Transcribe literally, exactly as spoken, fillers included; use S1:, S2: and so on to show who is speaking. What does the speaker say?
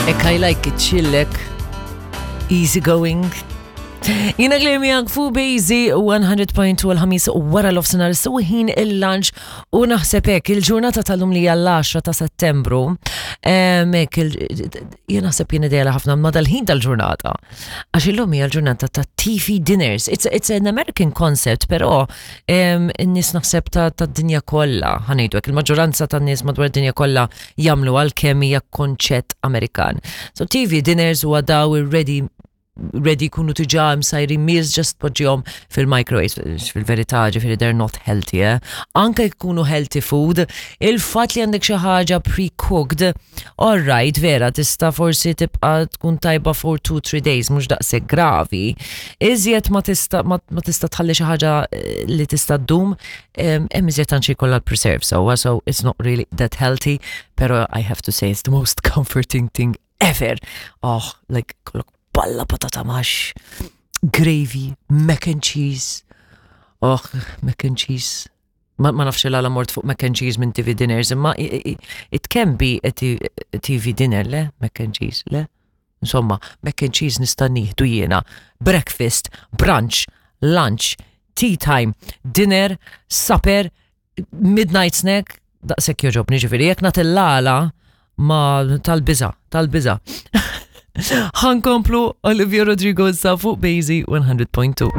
S1: Ek I like it, chillek, easy going. Jiena Claire miegħek fuq Bejzi one hundred point two l-Ħamis wara l-nofsinhar, so ħin il-lunch, u naħseb hekk il-ġurnata tal-lum li hija l-għaxra ta' Settembru, em, hekk il- jien naħseb jien idea ħafna ma dal-ħin tal-ġurnata. Għax illum hija l-ġurnata ta' T V dinners. It's, it's an American concept, però em, in-nies naħseb ta' ta' dinja kollha, ħa ngħidu hekk, il-maġġoranza tan-nies madwar id-dinja kollha jagħmlu, għalkemm hija konċett Amerikan. So T V dinners huwa daw ready ready kunu diġà msajrin meals, just poġġihom fil-microwave. Fil-verità, ġifieri, they're not healthy, eh? Anke jkunu healthy food, il-fat li għandek xi ħaġa pre-cooked, all right, vera, tista' forsi tibqa' tkun tajba for two three days, mhux daqshekk gravi. Iżjed ma tista' ma, ma tista' tħalli xi ħaġa eh, li tista' ddum, em, hemm iżjed anċi kollha preserve, so, so it's not really that healthy, pero I have to say it's the most comforting thing ever. Oh, like, kollok balla patata mash, gravy, mac and cheese. Oh, mac and cheese. Ma, ma nafx għala mort fuq mac and cheese minn T V dinners, imma i- i- it can be a T- a T V dinner, le? Mac and cheese, le? Insomma, mac and cheese nista' nieħdu jiena. Breakfast, brunch, lunch, tea time, dinner, supper, midnight snack, daqshekk jogħġobni, ġifieri, jekk nagħti l-għala ma tal-biża', tal-biża'. Ħa nkomplu Olivia Rodrigo sa fuq Bejzi one hundred point two.